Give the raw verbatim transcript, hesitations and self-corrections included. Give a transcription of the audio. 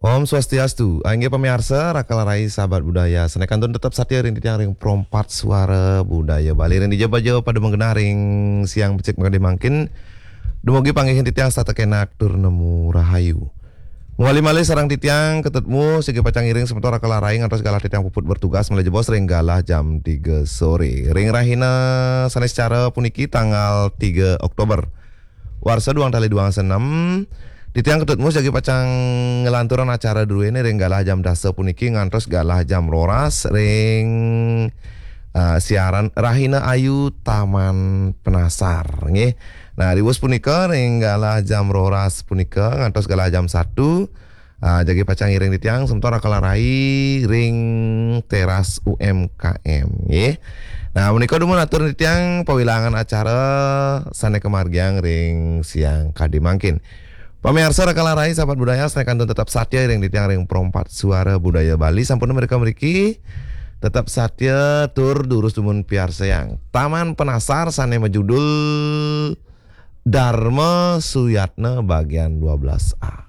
Om Swastiastu, inggih pamiarsa, Raka Larai, sahabat budaya, sané kantun tetep satia ring titiang ring Pro empat Suara Budaya Bali, ring dija baja pada magenah ring siang becik makadi mangkin. Dumugi panggihin titiang setata kenak tur nemu rahayu. Mawali malih sareng titiang, ketemu, sigi pacang ngiring semeton Raka Larai ngantos galah titiang puput bertugas malih jebos ring galah jam tiga sore. Ring rahina sané secara puniki tanggal tiga Oktober warsa duang tali duang senem, titiang Ketut Mus jagi pacang nglanturang acara druéné ring galah jam dasa puniki ngantos galah jam roras ring, ah, siaran Rahina Ayu Taman Penasar, nggih. Nah, riwus punika ring galah jam roras punika ngantos galah jam satu, ah, jagi pacang ngiring titiang semeton Raka Larai ring teras U M K M, nggih. Nah, menika dumun atur titiang pawilangan acara sané kamargiang ring siang kadi mangkin. Pamiarsa Raka Larai, sahabat budaya, sané kantun tetep satia ring titiang ring Pro empat Suara Budaya Bali, sampun mrika mriki tetep satia tur durus dumun piarsayang Taman Penasar sané majudul Dharma Suyatna bagian dua belas A.